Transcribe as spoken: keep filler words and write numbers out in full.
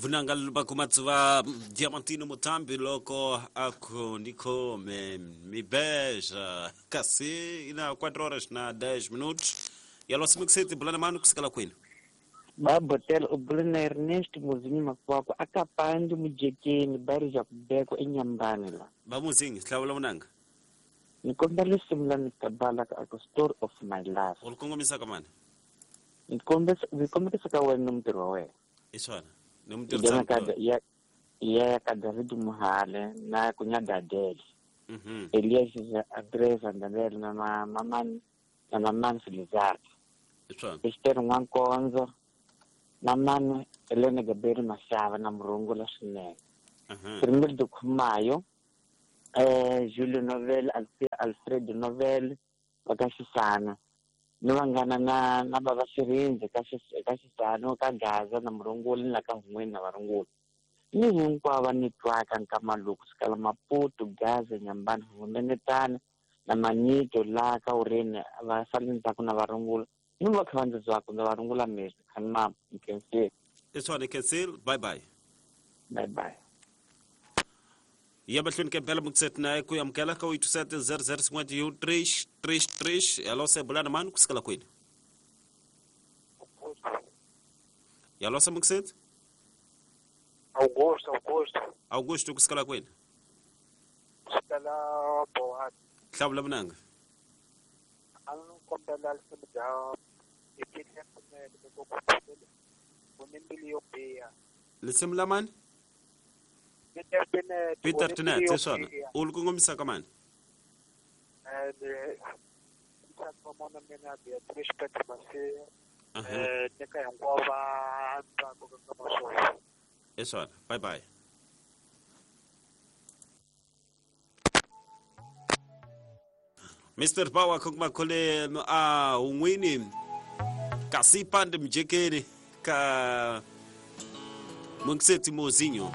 Vunanga bakumatsuva Diamantino Mutambi loko aku niko me mi beja kasi ina quatro horas na dez minutos e alo simixete bulana mano kusikala kwini Babotel ubulana Ernest Muzinyi makwako akapandi mujekeni bari ja kubeko enyambani la Bamuzinyi hlawula munanga Nikombela risimu Mister Balak ako Story of My Life Ulikongomisa kamani Nikombisa nikombisa ka wena mutirhi wa wena Iswana nomtirhi ya ya ka David Muhale na kunya Dadel Mhm Elias Andres Andabel na mama na mama Filizar Iswana Esther Nwankonzo mama Elena Gabriel Mashava na Murungula swinene Mhm Primeiro do Kumayo eh Julio Novel Alfredo Novel vakashisana ni vangana na na baba Shirinze ka ka Xisano ka Gaza na Murungula na ka Hungweni na Varungula ni hinkwavo va ni twaka nkama loku kusukela Maputo Gaza Nyambani Humenetana na Manyito la ka Urini va sale ndzhaku na Varungula ni va kha va ndzi byaka ndza Varungula mesi khani ma nkhensile Iswana khensile bye bye bye bye Ya mahlweni ka mpela mukiseti na ku amukela ka oito sete zero zero cinco um três três três alo se bulana mano kusikala kwini Yalo se mukiseti Augusto Augusto Augusto kusikala kwini Kusikala Bohani Hlawula munanga Anu kombela risimu bya Peter Tinene Unembili yo biha Risimu la mani Peter Tinene Peter Tinene iswana ulikongomisa ka mani And mina Beatrice Petro Masia eh neka hinkwavo va ntsako ka maswona Iswana bye bye Mister Power kumakhole a unwini kasi pande mjekeni ka Mungiseti Mozinho